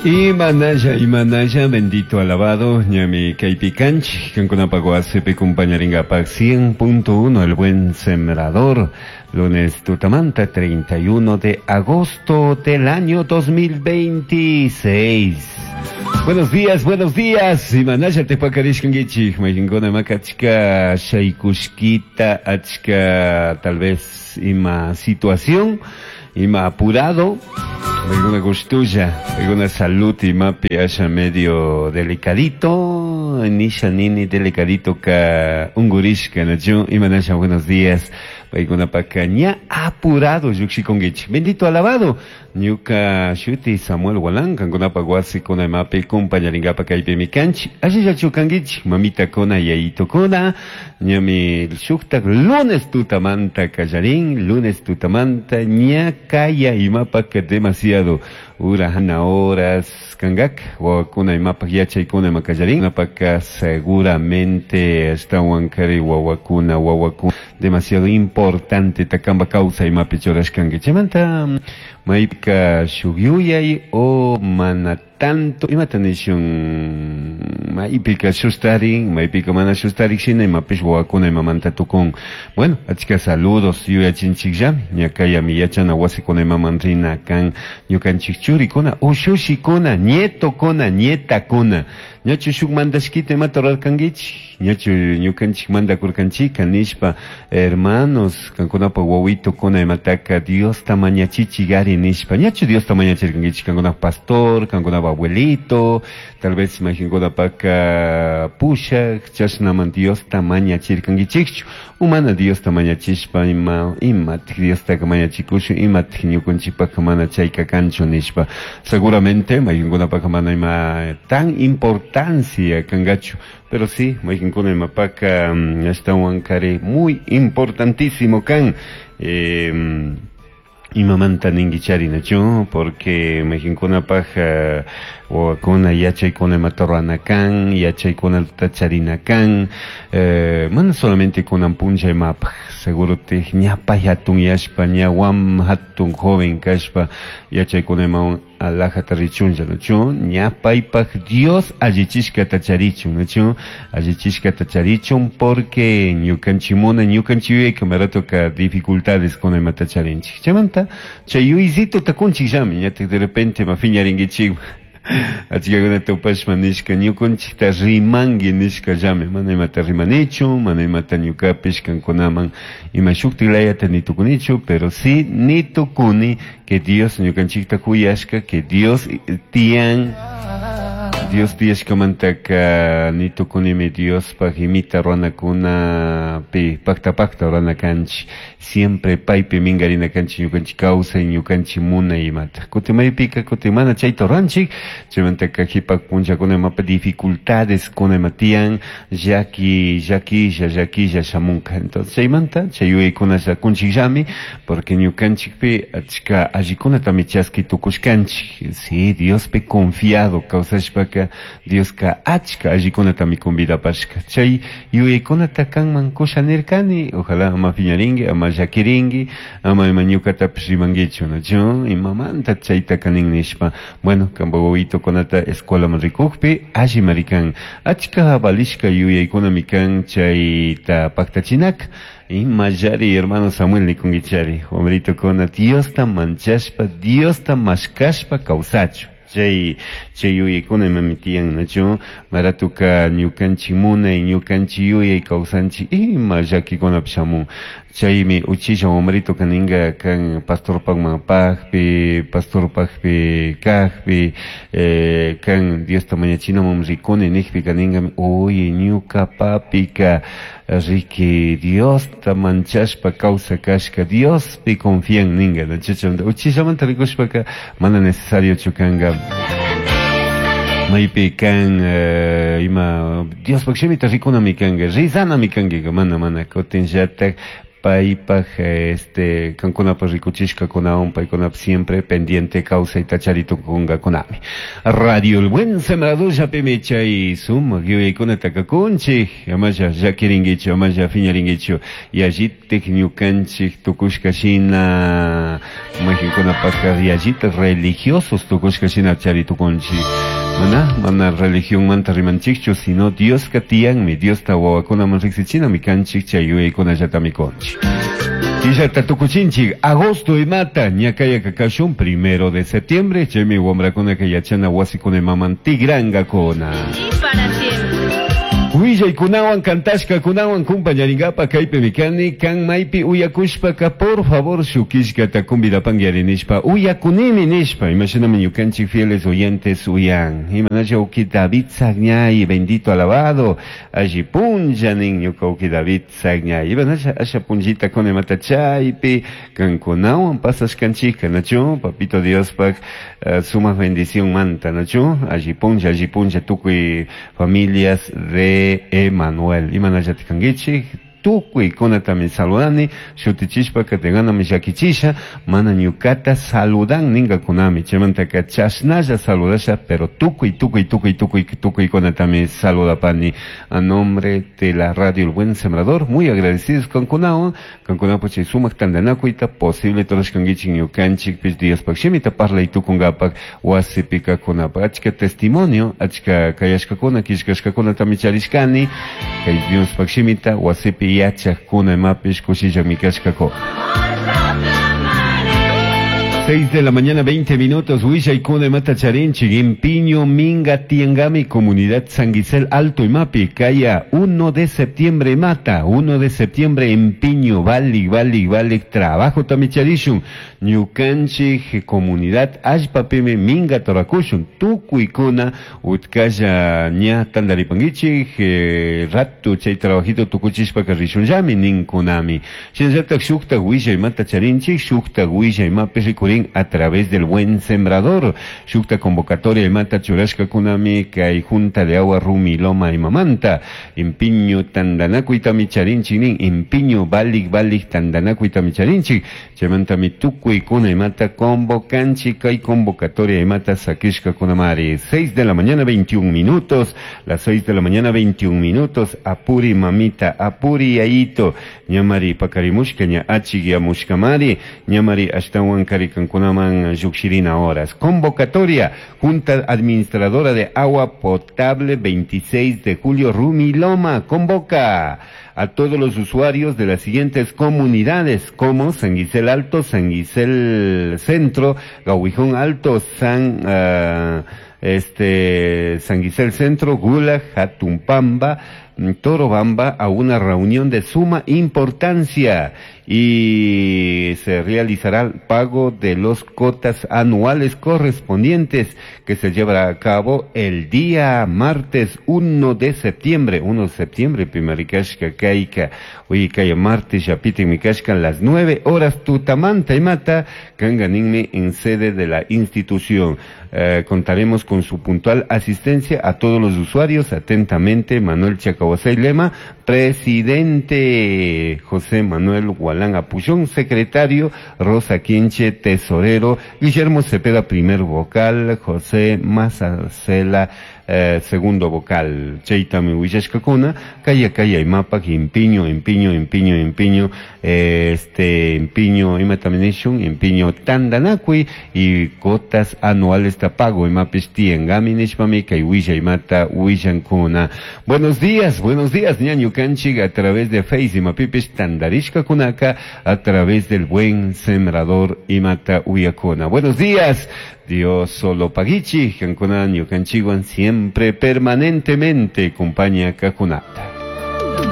Imanalla, imanalla, bendito alabado, ñami kaypi kanchik, kankunapak wasipi kumpañarinkapak 100.1 El Buen Sembrador, lunes tutamanta 31 de agosto del año 2026. Buenos días, buenos días. Imanalla tepakarishkankichik, mayqinkuna imaka achka shaykushkita, achka tal vez ima situación, ima apurado, alguna gustulla, alguna salud imapi asha medio delicadito, nisha nini delicadito ka ungurishka, nachu, imanalla buenos días. Paykunapaka ña apurado llukshikunkichik. Bendito alabado, ñuka shuti Samuel Gualán, kankunapak wasikuna imapi kumpañarinkapa kaypimi kanchik. Allillachu kankichik, mamitakuna, yayitukuna, ñami shuktak lunes tutamanta kallarin, lunes tutamanta ña kaya imapak demasiado ura hana horas kankak, wawakuna imapak yachaykuna ima kallarin, imapaka seguramente ashtawan kari wawakuna, wawakuna demasiado importante takamba kawsay imapi churashkanki. Chaymanta maypika shuk yuyay o mana tanto imata nishun maypika shustarin, maypika mana shustarik shina imapish wawakuna imamanta tukun. Bueno, achka saludos yuyachinchikllami, ña kayami yachana wasikuna imaman rina kan ñukanchik churikuna, ushushikuna, nietokuna, nietakuna. Ñachu shuk mandashkita imata rurarkankichik, ñachu ñukanchik mandakurkanchika nishpa, hermanos, kankunapa wawitokuna imataka Diosta mañachichik ari nishpa, ñachu Diosta mañachirkankichik, kankunapa pastor, kankunapa abuelito, tal vez imaginkunapaka pushak, chashnaman Diosta mañachirkankichikchu, umana Diosta mañachishpa ima, imatik Diostaka mañachikushun, imatik ñukanchikpaka mana chayka kanchu nishpa. Seguramente mayqinkunapaka mana ima tan importancia kankachu, pero sí, mayqinkuna imapaka ashtawan kari muy importantísimo kan. Imamanta ninkichari nachu, porque mayqinkunapaj wawakuna yachaykuna imata rurana kan, yachaykuna charina kan, mana solamente kunan punlla imapaj, seguro te ñapay hatun yashpa, ña wam hatun joven kashpa, yachaykuna imawan alajata richunlla, nachu, ñapaypaj Dios allichishkata charichun, nachu, allichishkata charichun, porque ñukanchimuna, ñukanchik yuyayka maratoka dificultades kuna imata charinchik. Chaymanta, chay yuyzito takunchikllami, ñatik de repente ma phiñarinkichik. Achkakuna tupashpa nishka ñukanchikta rimanki nishkallami, mana imata rimanichu, mana imata ñukapish kankunaman ima shuktik layata nitukunichu, pero sí nitukuni que Dios ñukanchikta kuyashka, que Dios tiyan, Dios tiyashkamantaka nitukunimi Diospaj imita ruranakunapi pakta pakta rurana kanchik, siempre paypi minkarina kanchik ñukanchik kawsay, ñukanchik munay imata. Kutin maypika, kutin mana chayta ruranchik, chaymantaka qhipa punllakuna imapa dificultades kuna ima tiyan, llaki, llakilla, llakilla shamunka. Entonces chaymanta chay yuyaykuna kunchikllami, porque ñukanchikpi achka allikunatami chaski tukushkanchik. Sí, Diospi confiado kawsashpaka Dioska achka allikunatami convidapashka. Chay yuyaykunata kanman kusha nirkani, ojalá ama phiñarinki, ama llakirinki, ama ima ñukatapish rimankichu, nachu, imamanta chayta kanin nishpa. Bueno, kanpa wawitokunata escuelaman rikukpi allimari kan. Achka valishka yuyaykunami kan chayta paktachinaka. Imallari, hermano Samuel nikunkichari, wamritokuna Diosta manchashpa, Diosta mashkashpa kawsachu. Chay, chay yuyaykuna imami tiyan, nachu, maratuka ñukanchik munay, ñukanchik yuyay kawsanchik, ima llakikunapish shamun. Chaymi uchilla wamrito kaninka kan pastorpakman pakpi, pastorpakpi kakpi, kan Diosta mañachinaman rikuni nikpi kaninkami, oye, ñuka papika riki Diosta manchashpa kawsakashka, Diospi confian ninka, nachu, chaymanta uchillamanta rikushpaka mana necesario kanka. Maypi kan ima Diospaj shimita rikunami kanka, rizanami kankika, mana, mana, kutinllatak Paypaj este kankunapaj rikuchishkakunawan paykunapaj siempre pendiente kawsayta charitukunkakunami. Radio El Buen Sembrador llapimi chay sumak yuyaykunata kakunchik, amalla llakirinkichu, amalla phiñarinkichu, yallitik ñukanchik tukushka shina mayqinkunapajqa yallitak religiosos tukushka shina charitukunchik. Mana, mana religionmanta rimanchikchu, sino Dioska tiyanmi, Diosta wawakunaman riqsichinami kanchik chay yuyaykunallatami kunchik. Killata tukuchinchik, agosto imata, ñakayaka kashun 1 de septiembre, chaymi wamrakunaka yachana wasikuna imaman tigrankakuna. Y para siempre. Willaykunawan kantashkakunawan kumpañaringapa kaypimi kani, kan maypi uyakushpaka por favor shukishkata convidapanki ari nishpa uyakunimi nishpa, imashinami ñukanchik fieles oyentes uyan. Imanalla uki David Sagñay, bendito alabado, alli punlla nin ñuka uki David Sagñay. Imanalla asha punllita con imata chaypi, kankunawan pasashkanchika, nachu, papito Diospak, sumak bendición manta, nachu, alli punlla, alli punlla tukuy familias de Emanuel. Imanalla tikankichik, tukuy kunatami saludani, shutichishpaka teganami llakichisha, mana ñukata saludan ninkakunami, chaymantaka chashnalla saludasha, pero tukuy, tukuy, tukuy, tukuy, tukuy kunatami saludapani. A nombre de la radio El Buen Sembrador, muy agradecidos con kunawan, kankunapak chay sumak tantanakuyta, posible torashkankichik ñukanchikpish Diospaj shimita parlay tukunkapak wasipi kakunapak. Achka testimonio, achka kayashkakuna, killkashkakunatami charishkani, kay Diospaj shimita wasipi yachakuna imapish kushillami kashkakuna. 6 de la mañana, 20 minutos, Willaykuna imata charinchik, Impiño Minga Tiangami, Comunidad San Gisel Alto Imapi, Kaya, 1 de septiembre mata, 1 de septiembre Empiño, Vali, Vali, Vali, trabajo tamicharishun, Ñukanchik, Comunidad Allpapimi, Minga Torakushun, Tukuykuna, Utkalla ña tandaripangichik, ratu chay trabajito tukuchishpaka rishunllami, ninkunami. Shinallatak shuktak willay mata charinchik, shuktak willay mapi rikurin a través del Buen Sembrador. Shukta convocatoria y mata churashka kunami kay junta de agua Rumi Loma y Mamanta. Impiño tandanaku y tamicharinchik nin, impiño balik balik tandanaku y tamicharinchik. Chaymantami tukuy kuna y mata convocanchi kay convocatoria y mata sakishka kunamari. 6 de la mañana 21 minutos, las 6 de la mañana 21 minutos, apuri mamita, apuri ayito, ñamari pakarimushka ña achiguiamushkamari, ñamari ashtawan karikan kunaman llukshirina horas. Convocatoria, Junta Administradora de Agua Potable, 26 de julio, Rumiloma, convoca a todos los usuarios de las siguientes comunidades, como San Gisel Alto, San Gisel Centro, Gahuijón Alto, San Gisel Centro, Gula, Jatumpamba, Torobamba, a una reunión de suma importancia y se realizará el pago de los cuotas anuales correspondientes que se llevará a cabo el día martes 1 de septiembre, 1 de septiembre, Pimaricashka, Kaika, hoy kaya martes, Yapiti, Mikashka, a las 9 horas, Tutamanta y Mata, Kanganinme en sede de la institución. Contaremos con su puntual asistencia a todos los usuarios. Atentamente, Manuel Chacahuasay Lema, presidente, José Manuel Gualán Apullón, secretario, Rosa Quinche, tesorero, Guillermo Cepeda, primer vocal, José Mazacela, segundo vocal. Chaytami willashkakuna, kaya kaya imapak, impiño, impiño, impiño, impiño, impiño, imataminishun, impiño tandanakui y cuotas anuales tapago, imapis tiengami nishpami, kay willa imata willankuna. Buenos días, buenos días, ñañu kanchik, a través de Face, imapipis tandarishkakunaka, a través del Buen Sembrador imata uyakuna. Buenos días. Dios solo pagichi, kankuna ñukanchikwan siempre permanentemente compañía kakunata.